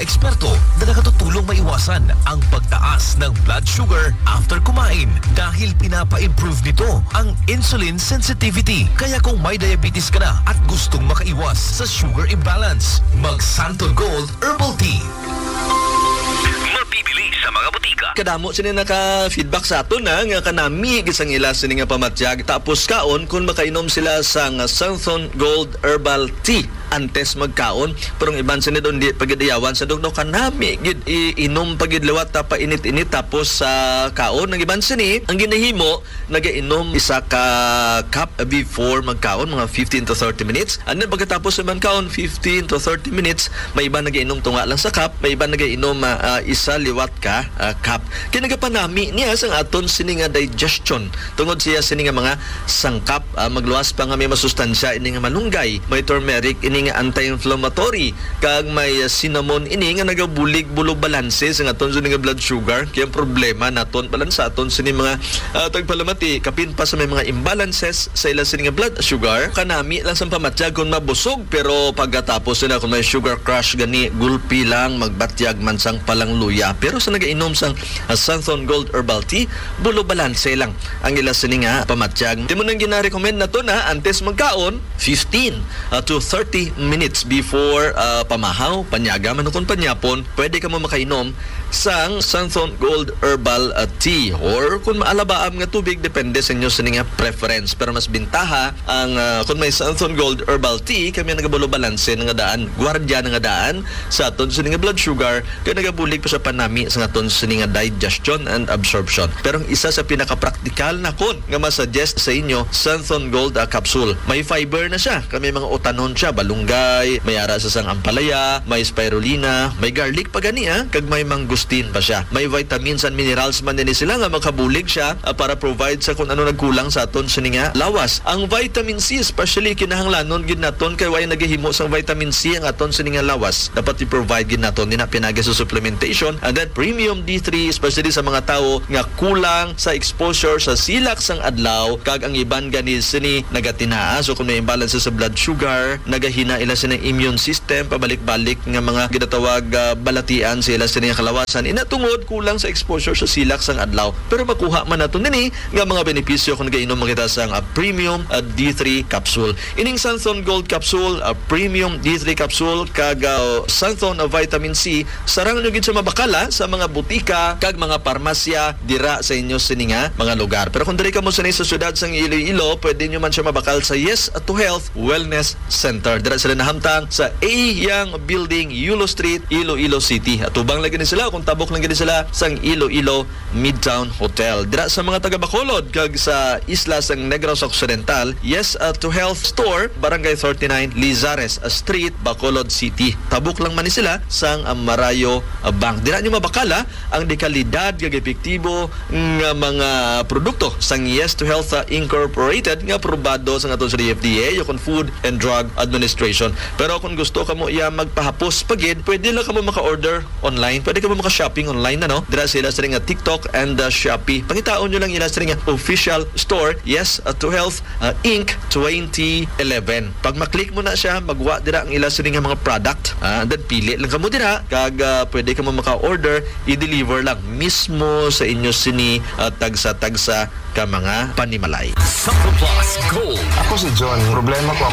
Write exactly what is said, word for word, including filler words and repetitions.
Eksperto na nakatutulong maiwasan ang pagtaas ng blood sugar after kumain dahil pinapa-improve nito ang insulin sensitivity. Kaya kung may diabetes ka na at gustong makaiwas sa sugar imbalance, mag Santon Gold Herbal Tea. Mabibili sa mga butika. Kadamo sini naka-feedback sa aton, ha, nga kanami gid sang ila sini nga pamatyag. Tapos kaon kung makainom sila sang Santon Gold Herbal Tea antes magkaon. Pero ang iban sini doon di pagidayawan sa dugno, kanami gid iinom pa gid liwat ta painit-init tapos sa kaon. Ang iban sini, ang ginahimo, nagainom isa ka cup before magkaon, mga fifteen to thirty minutes. And then pagkatapos naman kaon, fifteen to thirty minutes, may iba nagainom tunga lang sa cup, may iba nagainom, ah, ah, isa liwat ka, ah, cup. Kaya nagapanami niya sang aton sini nga digestion. Tungod siya sini nga mga sangkap, ah, magluwas pa nga may masustansya ini nga malunggay, may turmeric ini nga anti-inflammatory, kag may, ah, cinnamon ini nga nagabulig bulog balanse sa aton sini nga blood sugar. Kaya ang problema naton, balansaton sini mga, ah, tagpalamati, kapin pa sa may mga imbalances sa ila sini nga blood sugar, kanami lang sang pamatyag kung mabusog, pero pagkatapos nila kung may sugar crash gani, gulpi lang, magbatyag man sang palangluya. Pero sa nagainom sang, ah, Santhon Gold Herbal Tea, bulog balanse lang ang ila sini nga pamatyag. Timo nang gina-recommend nato na antes magkaon, fifteen, ah, to thirty minutes before, ah, pamahaw, panyaga man ukon panyapon, pwede kamo makainom sang Santhon Gold Herbal, ah, Tea or kung maalabaab nga tubig, depende sa inyo sini nga preference. Pero mas bintaha ang, ah, kung may Santhon Gold Herbal Tea, kami nagabalo balanse na nga daan, gwardiya na nga daan sa aton sini nga blood sugar, kay nagabulig pa sa panami sa aton sini nga digestion and absorption. Pero ang isa sa pinakapraktikal nakon nga masuggest sa inyo, Santhon Gold, ah, capsule. May fiber na siya, kay may mga utanon siya, balunggay, may ara sa sang ampalaya, may spirulina, may garlic pa gani, ah, kag may mangustin pa siya. May vitamins and minerals man din sila nga makabulig siya, ah, para provide sa kung ano nagkulang sa aton sini nga lawas. Ang vitamin C especially kinahanglanon gid naton kay way nagahimo sang vitamin C ang aton sini nga lawas. Dapat i-provide gid naton nina pinagi sa supplementation, and then premium D three, especially sa mga tawo nga kulang sa exposure sa silak sang adlaw, kag ang iban gani sini nagatinaa. So kung may imbalance sa blood sugar, nagahina ila sini immune system, pabalik-balik nga mga ginatawag, ah, balatian sa ila sini nga kalawasan. Ina tungod kulang sa exposure sa silak sang adlaw. Pero makuha man nato nini nga mga benepisyo kung nagainom man kita sang, ah, premium, ah, D three capsule. Ining Santhon Gold capsule, ah, premium D three capsule, kag, ah, Santhon, ah, vitamin C, sarang nyo gid siya mabakala sa mga butika kag mga parmasya dira sa inyo sini nga mga lugar. Pero kung diri kamo sini sa siyudad sang Iloilo, pwede nyo man siya mabakal sa Yes to Health Wellness Center. Dira sila nahamtang sa A Yang Building, Yulo Street, Iloilo City. Atubang lagi ni sila kung tabok lang gid sila sang Iloilo Midtown Hotel. Dira sa mga taga Bacolod kag sa isla sang Negros Occidental, Yes, uh, to Health Store, Barangay thirty-nine, Lizares, uh, Street, Bacolod City. Tabok lang man ni sila sang, uh, Marayo, uh, Bank. Dira nyo mabakala ang dekalidad kag epektibo nga mga produkto sang Yes to Health, uh, Incorporated nga aprobado sa aton sa D F D A o kon Food and Drug Administration. Pero kung gusto kamo iya magpahapos pa gid, pwede lang kamo maka-order online. Pwede kamo maka-shopping online na, no? Dira sila sa nga TikTok and, uh, Shopee. Pangitaon nyo lang ila sa nga official store, Yes, uh, to Health, uh, Inc twenty eleven. Pag maklik mo na siya, magwa dira ang ila sini nga mga product. Ah, and then pili lang kamo dira, kag, ah, pwede kamo maka-order, i-deliver lang mismo sa inyo sini, ah, tagsa-tagsa ka mga panimalay. Sa Plus Gold. Ako si John. Problema ko